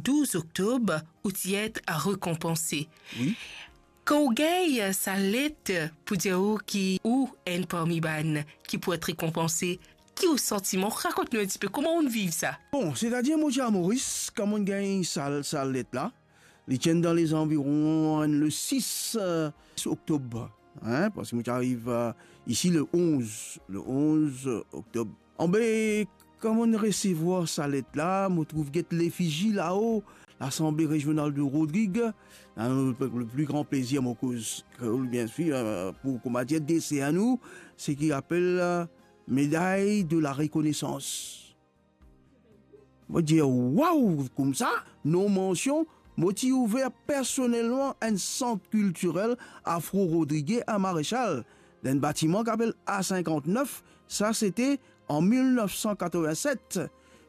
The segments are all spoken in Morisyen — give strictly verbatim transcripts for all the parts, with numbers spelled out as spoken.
douz oktob, ou ti et rekonpanse. Wi. Kan ou gagn sa let pou dir ou ki ou enn parmi bann ki pou et rekonpanse, ki ou santiman? Rakont nou enn tipe, kouma ou viv sa? Bon, setadir mo ti a Moris, kan mo gagn sa, sa let la, li ti enn dan lezanviron enn le sis, eh, oktob, hein, parski mo ti ariv, eh, isi le onz, le onz oktob. Anbe, kan mo resevwar sa let la, mo trouv get lefizi lao, Lasanble Rezional de Rodrig, dan le, le pli gran plezir mo koz kreol, biensir, eh, pou, kouma dir, desern nou, seki apel, eh, Médaille de la Reconnaissance. Mo dir, waw, koumsa, non mansion, mo ti ouver personelman enn sant kiltirel afro-rodrigye a Marechal, dan enn batiman ki apel A sinkant-nef, sa sete an mil nef san katrovin-set.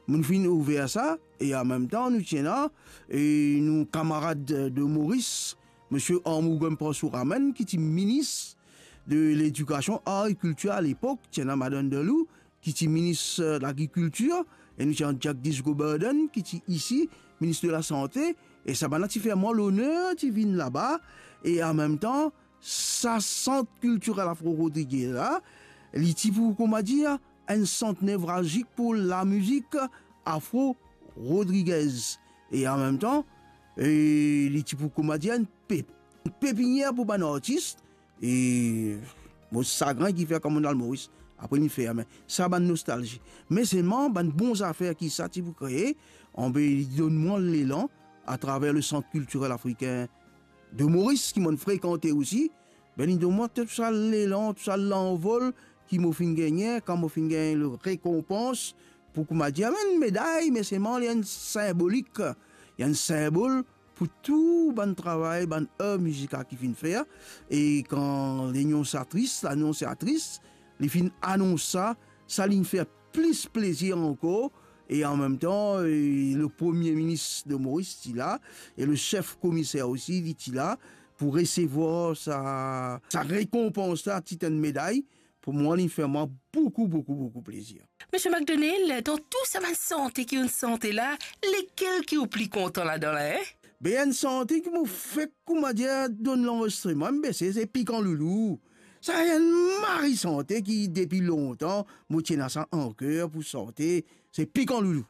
Mo'nn finn ouver sa, e an mem tan, nou ti ena, e nou kamarad de Moris, Misie Armour Gump Parsour Amenn, ki ti minis de Ledikasion, Ar e Kiltir a lepok, ti ena Madann Delou, ki ti minis, eh, lagrikiltir, e nou ti ena Jagdish Govardhan, ki ti isi, minis de lasante, e sa bann la ti fer mwa loner ti vinn laba, e an mem tan, sa sant kiltirel afro-rodrigye la, li ti pou, kouma dir, enn sant nevralzik pou lamizik afro-rodrigyez. E an mem tan, e li ti pou, kouma dir, enn pe-, enn pepinier pou bann artis, e mo sagrin ki fer kan mo'nn al Moris, apre li ferme. Sa bann nostalzi. Me selman, bann bon zafer ki sa ti pou kree, anbe li donn mwa lelan atraver le Sant Kiltirel Afrikin de Moris, ki mo'nn frekante osi, be li donn mwa tou sa lelan, tou sa lanvol ki mo finn gagne, kan mo finn gagn le rekonpans, pou, kouma dir, enn meday, me selman li enn sinbolik, li enn sinbol pou tou bann travay, bann er mizikal ki finn fer, e kan lannonsatris, lannonsatris, li finn anons sa, sa linn fer plis plezir ankor, e an mem tan, e le Premie Minis de Moris ti la, e le sef komiser osi, li ti la, pou resevwar sa, sa rekonpans la, tit enn meday, pou mwa, li fer mwa boukou, boukou, boukou plezir. Misie McDonnell, dan tou sa bann sante ki ou'nn sante la, lekel ki ou pli kontan ladan la, en? Be, enn sante ki mo fek, kouma dir, donn lanrezistreman, be se, se Pikan Loulou. Sa enn mari sante ki depi lontan, mo ti ena sa an ker pou sante, se Pikan Loulou.